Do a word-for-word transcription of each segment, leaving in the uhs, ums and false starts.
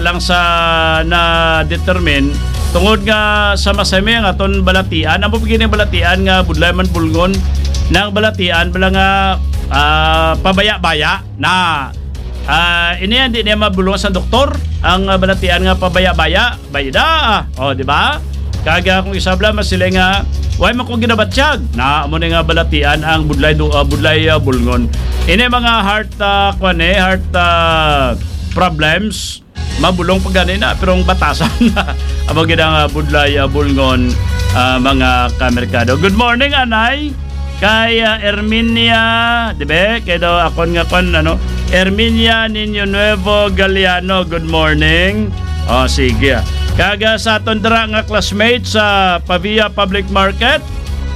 lang sa na-determine tungod nga sa masami ang aton balatian. Amo pa gini balatian nga budlay man bulngon, nang balatian bala nga, ah, pabaya-baya na. Ah, ini hindi niya mabulong sa doktor ang, ah, balatian nga pabaya-baya. Bayda, ah. O, di ba? Kag, ah, kung isabla, mas sila nga, "Why man ko ginabatyag?" Na, amo ni nga balatian ang budlay do, ah, budlay, ah, bulngon. Ini mga heart, ah, kwan eh, heart, ah, problems, mabulong pa gani na, pero ang batasan na. Amo gid ang, ah, budlay, ah, bulngon, ah, mga kamerkado. Good morning, Anay. Kay, ah, Erminia, di ba? Kay daw akon nga kwan, ano, Erminia Niño Nuevo Galeano, good morning. O, sige. Kag, ah, sa aton dira nga classmate sa Pavia Public Market,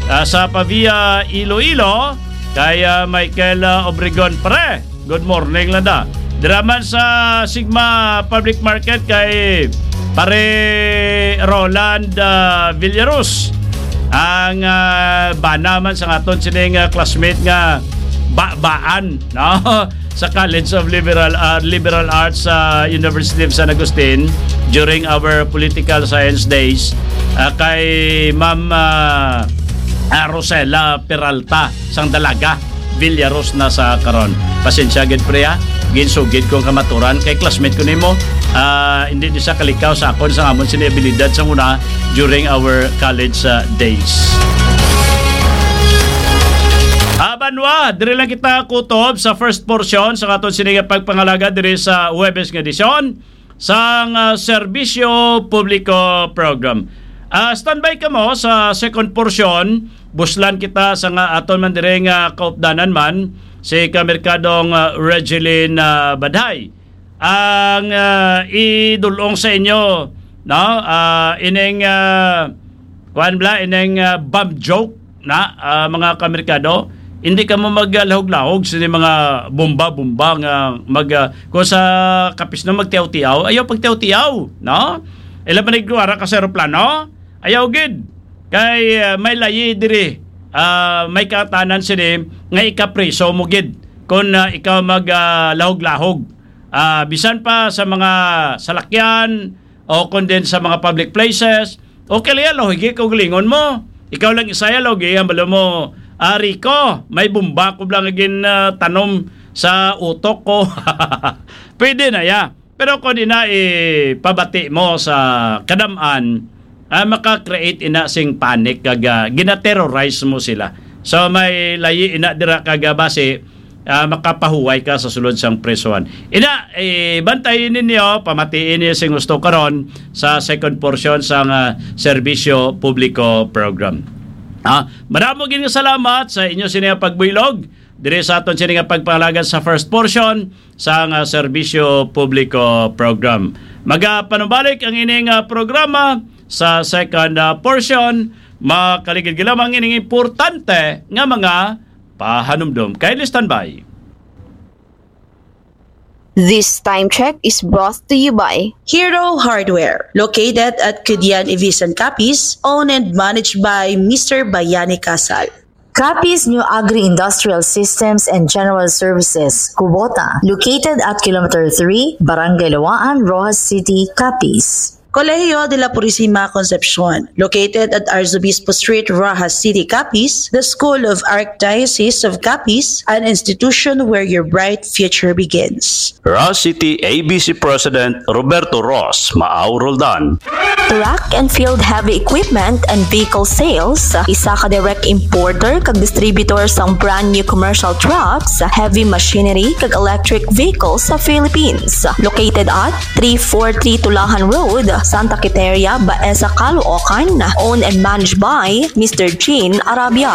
ah, sa Pavia, Iloilo, kay, ah, Michael, ah, Obregon, pre. Good morning, landa. Dira man sa Sigma Public Market kay Pare Roland, ah, Villaros. Ang, ah, bana man sa aton sining, ah, classmate nga babaan, no? Sa College of Liberal, ah, Liberal Arts sa University of San Agustin during our political science days, ah, kay Ma'am, ah, ah, Rosela Peralta sang Dalaga. Villaros na sa karon. Pasensya gid, pre, ha? Ginsugid ko ang kamaturan kay classmate ko nimo. Ah, hindi di sa kalikaw sa akon sa amon sini abilidad sa una during our college, ah, days. Ah, banwa, diri lang kita kutob sa first portion sa aton sini nga pagpangalaga diri sa Huwebes nga edisyon sang, ah, Serbisyo Publiko Program. Ah, standby kamo sa second portion. Buslan kita sa nga aton man diri nga kaupdanan man, si Kamerkadong, ah, Regeline, ah, Badhay. Ang, ah, idulong sa inyo, no? Ah, ining, ah, kuwan bala, ining, ah, bomb joke na, ah, mga kamerkado, hindi kamo maglahog-lahog sini mga bomba-bomba nga mag, ah, kung sa kapisno magtiaw-tiaw, ayaw pagtiaw-tiaw, no? Ila man nagkuwara ka sa eroplano, ayaw gid. Kay, ah, may layi diri, ah, may katanan sini nga ikapriso mo gid kung, ah, ikaw mag, ah, lahog-lahog. Ah, bisan pa sa mga salakyan o kung din sa mga public places, okay lang yan, lahugi kaugalingon mo. Ikaw lang isa yan, lahugi ang balo mo. Ah, Rico, may bomba ko lang gin, ah, tanom sa utok ko. Pwede na ya. Pero kung ina ipabati mo sa kadam-an, ah, maka-create ina sing panic kag, ah, gina-terrorize mo sila. So may layi ina dira kag, ah, basi, ah, makapahuway ka sa sulod sang presohan. Ina, eh, bantayi ninyo, pamatii ninyo sing gusto karon sa second portion sang, ah, Serbisyo Publiko Program. Ah, madamo gid nga salamat sa inyo sini nga pagbuylog diri sa aton sini nga pagpangalaga sa first portion sang, ah, Serbisyo Publiko Program. Magapanubalik ang ining, ah, programa sa second, ah, portion. Makaligid lamang ining importante nga mga pahanumdom. Kindly standby. This time check is brought to you by Hero Hardware, located at Kudian Ivisan Capiz, owned and managed by Mister Bayani Casal. Capiz New Agri-Industrial Systems and General Services, Kubota, located at Kilometer three, Barangay Lawaan, Roxas City, Capiz. Colegio de la Purisima Concepcion, located at Arzobispo Street, Roxas City, Capiz, the School of Archdiocese of Capiz, an institution where your bright future begins. Roxas City A B C President Roberto Ross Maaw Roldan. Track and Field Heavy Equipment and Vehicle Sales, isa ka direct importer kag distributor sang brand new commercial trucks, heavy machinery, kag electric vehicles sa Philippines. Located at three four three Tulahan Road, Santa Quiteria, Baeza, Caloocan. Owned and managed by Mister Jean Arabia.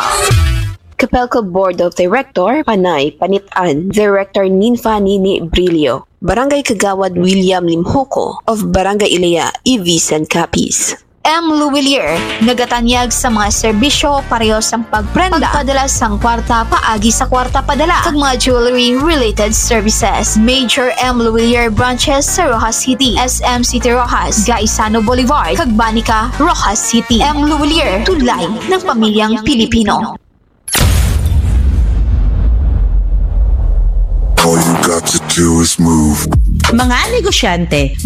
Capelco Board of Director, Panay Panitan. Director, Ninfa Nini Brillo. Barangay Kagawad, William Limhuko of Barangay Ilaya, Ivisan Capiz. M Luwilier, nagatanyag sa mga serbisyo pareho sang pagprenda, pagpadala sang kwarta paagi sa kwarta padala, kag mga jewelry-related services. Major M Luwilier branches sa Roxas City, S M City Roxas, Gaisano Boulevard, kag Banica, Roxas City. M Luwilier, tulay ng pamilyang Pilipino. All you got to do is move. Mga negosyante,